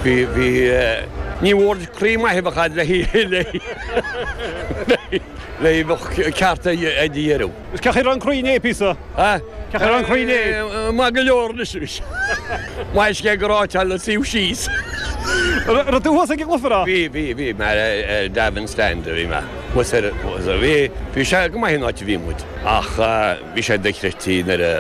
Bhí, bhí, ní mhór croí maith a bheadh a'd le le le bheadh ceart ag deireadh. Is cén chaoi a raibh an croí inné píosa? Ha? Cén chaoi a raibh an croí inné? Maith go leor anois. Maith is go ráiteáil le suíomh síos. Raibh tú thuas ag an gcluiche, raibh? Bhí, bhí, bhí mé ar Davin Stand a bhí mé. Thuas ar, bhí, bhí sé go maith an áit a bhí muid ach bhí sé dochreidte nuair a,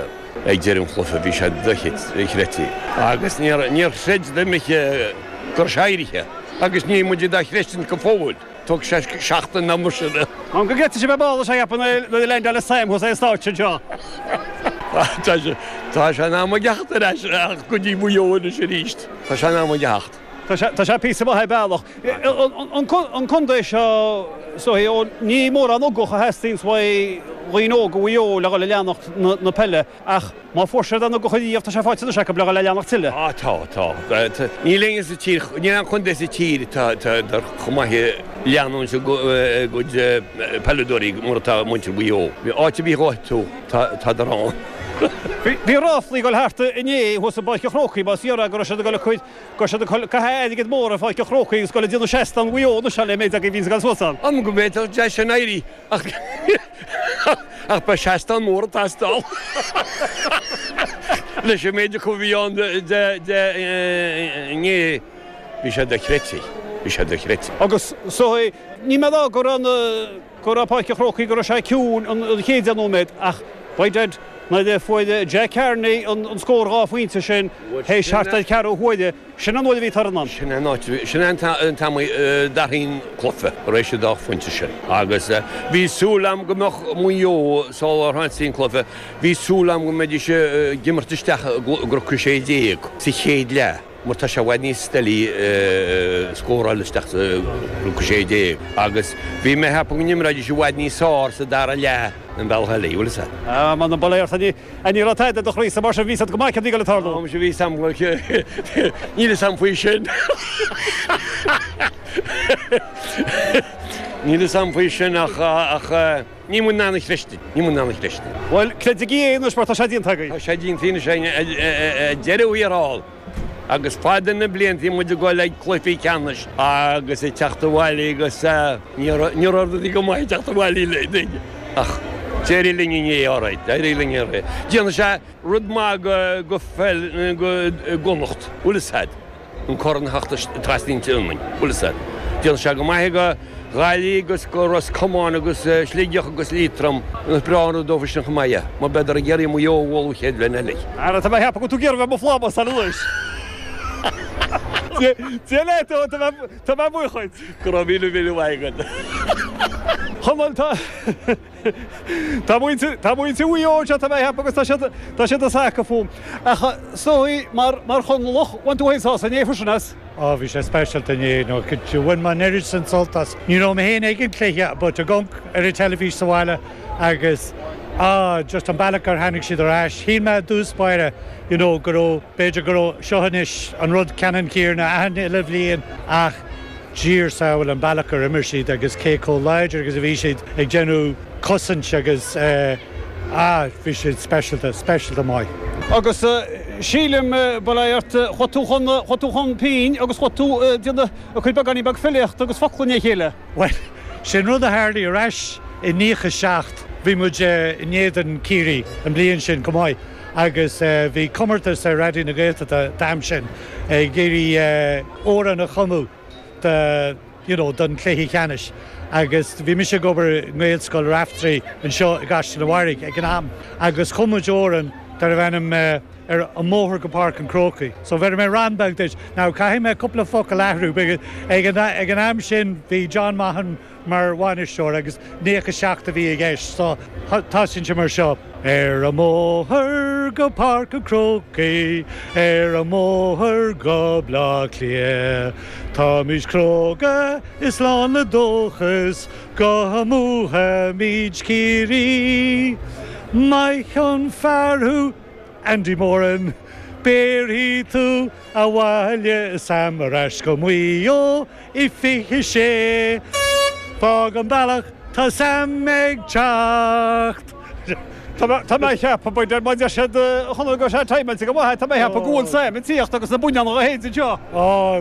ag deireadh an chluiche bhí sé dochreidte agus níor, níor chreid duine go raibh sé éirithe agus níl muid dá chreidtint go fóill. Tógfaidh sé seachtain nó mar sin. An go gcreidfidh sibh é ball is é cheapann nuair a leaindeáil Sam thuas ar an stáitse anseo. Tá sé tá sé in am a theacht ar ais ach go dtí Maigh Eo anois arís. Tá sé in am a theacht. Tá sé tá sé píosa maith ar bealach. An an contae seo is dóigh ó ní mórán ugach a theastaíonns uaidh dhaoine óga Mhaigh Eo le dhul ag leanacht na na peile ach Má fuair siad an ugach ariamh, tá sé faighte anois acu le dhul ag leanacht tuilleadh. Á, tá, tá. Níl éinne sa tír, níl aon chontae sa tír atá chomh maith ag leanúint a gcuid peileadóirí mar atá muintir Mhaigh Eo. Áit ar bith a ghabhfaidh tú, tádar ann. Bhí ráflaí ag dul thart inné thuas i bPáirc an Chrócaigh, más fíor é, go raibh siad ag dul ag cur, go raibh siad ag caitheamh airgead mór ar Pháirc an Chrócaigh agus ag dul ag déanamh seastán Mhaigh Eo anois le méid agaibh a bhíonns ag dul suas ann. Am go bhféadfadh sé sin éirí Ach ach beidh seastán mór ag teastáil leis an méid acu a bhí ann de de inné. Bhí sé dochreidte. Bhí sé dochreidte. Agus so ní mé a rá go raibh na go raibh Páirc an Chrócaigh go raibh sé ciúin an chéad deich nóiméad ach by dad nuair a fuair Jack Carney an an scór 2 phointe sin théis thart ar ceathrú huaire Sin an uair a bhí torann ann. Sin an áit, sin an t-am a d'athraigh an cluiche, tar éis an dá phointe sin. Agus bhí súil agam go mbeadh Maigh Eo, sular thosaigh an cluiche, bhí súil agam go mbeidís ag imirt isteach i gcnoc 16 sa chéad leath, mar tá sé i bhfad níos doiligh scóráil isteach sa gcnoc 16. Agus bhí mé ag ceapadh go n-imreoidís i bhfad níos fearr sa dara leath an bealach eile, bhfuil fhios a'd. Ah, man, bail ort, Ní raibh tada i do chroí-sa mar sin bhí 'fhios a'd go maith céard a bhí ag dul ag tarlú. Ó, muise bhí 'fhios a'm, níl 'fhios a'm faoi sin. Níl 'fhios a'm faoi sin ach, ach níl muid in ann a chreidtint, níl muid in ann a chreidtint. Bhuel, creidigí é anois mar tá sé déanta agaibh. Tá sé déanta anois againn ar deireadh thiar thall. Agus fada na blianta bhí muid ag dul ag cluichí ceannais agus ag teacht abhaile agus ní raibh rudaí go maith ag teacht abhaile linn ach d'éirigh linn inné, alright, d'éirigh linn inné. Déanfaidh sé rud maith go pheil go gConnacht, bhfuil 'fhios a'd, an corn a theacht trasna an tSionainn, bhfuil 'fhios a'd. Déanfaidh sé go maith go Ghaillimh agus go Ros Comáin agus Sligeach agus Liatroim. Is breá an rud dófa sin chomh maith é, mar beidar ag iarraidh Maigh Eo a bhualadh an chéad bhliain eile. Ara, tá mé ag ceapadh go bhfuil tú ag iarraidh bheith i mo phlámás anois. Dia leat, ó, tá mé, tá mé buíoch dhuit. Go raibh míle míle maith agat. Chonaill, tá, tá muintir, tá muintir Mhaigh Eo anseo, tá mé ag ceapadh agus tá siad, tá siad ag sacadh fúm. Ach, is dóigh, mar, mar Chonallach, bhain tú féin sásamh inné freisin as. Á, bhí sé speisialta inné, you know, bhain mé an oiread sin sult as. Ní raibh mé féin ag an cluiche but ag amharc ar an teilifís sa bhaile agus ah, just an bealach ar tháinig siad ar ais. Shíl mé i dtús báire, you know, go raibh, b'fhéidir go raibh seo anois an rud ceannann céanna achan uile bhliain ach Dia ár sábháil an bealach ar imir siad agus cé chomh láidir agus a bhí siad ag déanamh cosaint agus eh, ah, bhí siad speisialta, speisialta maith. Agus sílim, bail ort, chuaigh tú chun, chuaigh tú chun pinn agus chuaigh tú ag déanamh ag cur beagáinín beag filíochta agus focla le chéile. Bhuel, sin rud a tharlaigh ar ais i 97. Bhí muid in éadan Ciarraí an bliain sin chomh maith agus bhí comórtas ar Raidió na Gaeltachta an t-am sin ag iarraidh amhrán a chumadh do, you know, don chluiche ceannais agus bhí mise ag obair i nGaelscoil Raifteirí anseo i gCaisleán an Bharraigh ag an am agus chum muid amhrán darbh ainm Ar an mBóthar go Páirc an Chrócaigh. So bheirfidh mé rann beag duit. Now caithfidh mé cúpla focal a athrú because ag an ag an am sin bhí John Maughan mar bhainisteoir agus 97 a bhí i gceist so tosaíonn sé mar seo. Ar an mbóthar go Páirc an Chrócaigh, ar an mbóthar go Bleá Cliath, táimid cróga is lán le dóchas go mbuafaimid Ciarraí. Maith an fear thú, Andy Moran, béarfaidh tú abhaile Sam ar ais go Maigh Eo i 26. Fág an bealach, tá Sam ag teacht! Tá mé ag ceapadh, b'fhéidir, má deir siad, a Chonaill, go raibh sé timeáilte go maith, tá mé ag ceapadh go bhfuil Sam ag tíocht agus na buinneáin á shéideadh anseo.